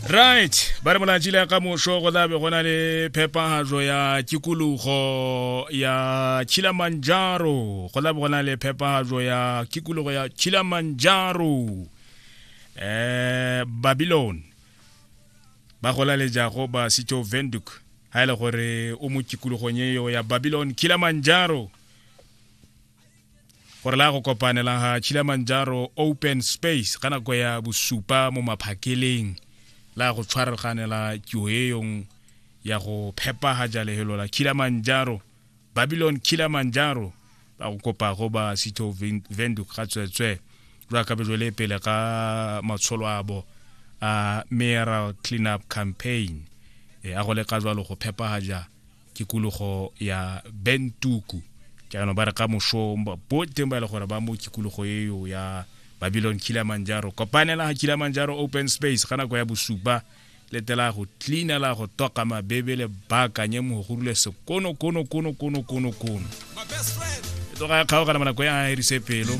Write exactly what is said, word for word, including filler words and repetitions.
Right, ba re molatši le ka mošo go tla be go na le phepagatšo ya tikologo ya Kilimanjaro. Go tla be go na le phepagatšo ya tikologo ya Kilimanjaro. Eh Babylon ba go laletšago ba City of Windhoek ha e le gore o mo tikologong eo ya Babylon Kilimanjaro, gore la go kopanela ga Kilimanjaro Open Space ka nako ya bosupa mo maphakeleng, la go tshwaraganela tiro eyong ya go phepagatša lehelo la Kilimanjaro, Babylon Kilimanjaro. Ba go kopago ba City of Windhoek ga tswetswe jwa ka bejole pele ga matsholo a bo a mayoral cleanup campaign, e a go leka jwalo go phepagatša tikologo ya Bentuku. Jaanong ba re ka mošo bo teng ba e le gore ba mo tikologo eo ya Babylon Kilimanjaro, kopanela ga Kilimanjaro Open Space ka nako ya bosupa, letela go cleana la go toka mabebe le baakanye mo go rule sekono kono kono kono kono kono. E tloga ya kgaogana mo nako ya erise pelo.